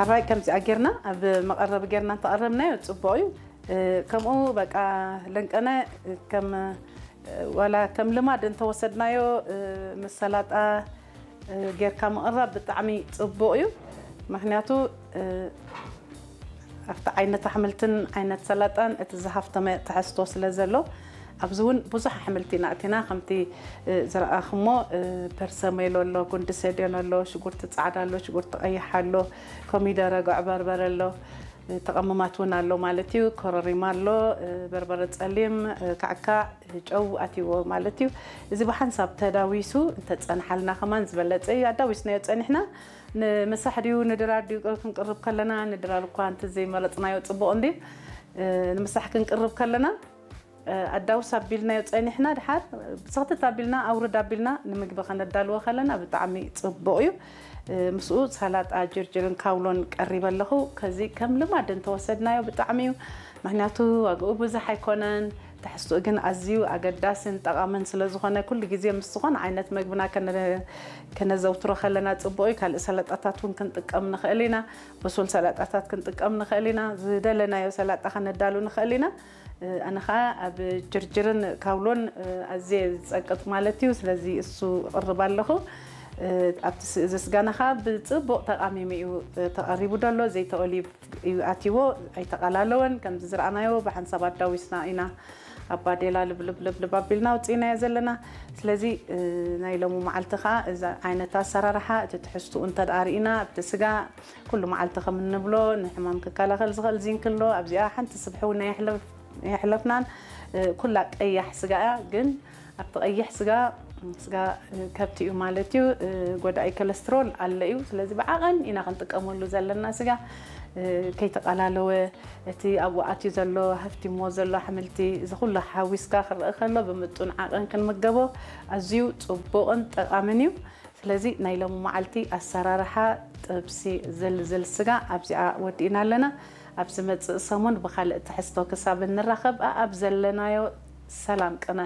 ኣራይ ከምዚኣ ጌርና ኣብ መቐረቢ ጌርና እንተቐረብናዮ ጽቡቕ እዩ። ከምኡ በቃ ለንቀነ ከም ዋላ ከም ልማድ እንተወሰድናዮ ምስ ሰላጣ ጌርካ ምቕራብ ብጣዕሚ ጽቡቕ እዩ። ምክንያቱ ኣብቲ ዓይነት ኣሕምልትን ዓይነት ሰላጣን እቲ ዝሃፍተመ ትሕዝቶ ስለ ዘሎ ኣብዚ እውን ብዙሕ ኣሕምልቲ ኢና እቲና ከምቲ ዝረኣኽሞ ፐርሰሜሎ ኣሎ፣ ጉንዲ ሰድዮን ኣሎ፣ ሽጉርቲ ፃዕዳ ኣሎ፣ ሽጉርቲ ቀይሕ ኣሎ፣ ኮሚደረ፣ ጉዕ በርበረ ኣሎ፣ ተቐምማት እውን ኣሎ ማለት እዩ። ኮረሪማ ኣሎ፣ በርበረ ጸሊም፣ ካዕካዕ፣ ጨው ኣትይዎ ማለት እዩ። እዚ ብሓንሳብ ተዳዊሱ እንተጸንሓልና ከማን ዝበለጸ እዩ። ኣዳዊስናዮ ጸኒሕና ንምሳሕ ድዩ ንድራር ድዩ ክንቅርብ ከለና ንድራር እኳ እንተ ዘይመረጽናዮ ጽቡቕ እንድዩ። ንምሳሕ ክንቅርብ ከለና ኣዳውስ ኣቢልናዮ ጸኒሕና ድሓር ብስኽትት ኣቢልና ኣውርድ ኣቢልና ንምግቢ ከነዳልዎ ከለና ብጣዕሚ ጽቡቕ እዩ። ምስኡ ሰላጣ ጅርጅርን ካውሎን ቀሪበ ኣለኹ። ከዚ ከም ልማድ እንተወሰድናዮ ብጣዕሚ እዩ። ምክንያቱ ዋግኡ ብዙሕ ኣይኮነን፣ ትሕዝትኡ ግን ኣዝዩ ኣገዳስን ጠቓምን ስለ ዝኾነ ኩሉ ግዜ ምስ ዝኾነ ዓይነት መግብና ከነ- ከነዘውትሮ ከለና ጽቡቕ እዩ። ካልእ ሰላጣታት እውን ክንጥቀም ንኽእል ኢና። ብሱል ሰላጣታት ክንጥቀም ንኽእል ኢና። ዝደለናዮ ሰላጣ ከነዳሉ ንኽእል ኢና። ኣነ ኸዓ ኣብ ጅርጅርን ካውሎን ኣዝየ ዝጸቅጥ ማለት እዩ። ስለዚ እሱ እቕርብ ኣለኹ። ኣብቲ ስ- እዚ ስጋና ኸዓ ብጽቡቕ ተቓሚሙ እዩ ተቐሪቡ ደሎ። ዘይተኦሊብ እዩ ኣትይዎ፣ ኣይተቓላለወን። ከምዚ ዝረኣናዮ ብሓንሳብ ኣዳዊስና ኢና ኣብ ባዴላ ልብልብልብልብ ኣቢልና ኣውፂእናዮ ዘለና። ስለዚ ናይ ሎሚ መዓልቲ ኸዓ እዚ ዓይነት ኣሰራርሓ እቲ ትሕዝትኡ እንተ ደኣ ርኢና ኣብቲ ስጋ ኩሉ መዓልቲ ከም እንብሎ ንሕማም ክከላኸል ዝኽእል ዚንክ ኣሎ። ኣብዚኣ ሓንቲ ስብሒ እውን ኣየሕለፍ- ኣየሕለፍናን። ኩላ ቀያሕ ስጋ እያ፣ ግን ኣብቲ ቀይሕ ስጋ ስጋ ከብቲ እዩ ማለት እዩ። ጎዳኢ ኮለስትሮል ኣለ እዩ። ስለዚ ብዓቐን ኢና ክንጥቀመሉ ዘለና ስጋ ከይተቓላለወ እቲ ኣብኡ ኣትዩ ዘሎ ሃፍቲሞ ዘሎ ኣሕምልቲ እዚ ኩሉ ሓዊስካ ክረአ ከሎ ብምጡን ዓቐን ክንምገቦ ኣዝዩ ጽቡቕን ጠቓምን እዩ። ስለዚ ናይ ሎሚ መዓልቲ ኣሰራርሓ ጥብሲ ዝልዝል ስጋ ኣብዚኣ ወዲእና ኣለና። ኣብ ዝመጽእ ሰሙን ብኻልእ ትሕዝቶ ክሳብ እንራኸብ ኣኣብ ዘለናዮ ሰላም ቅነ።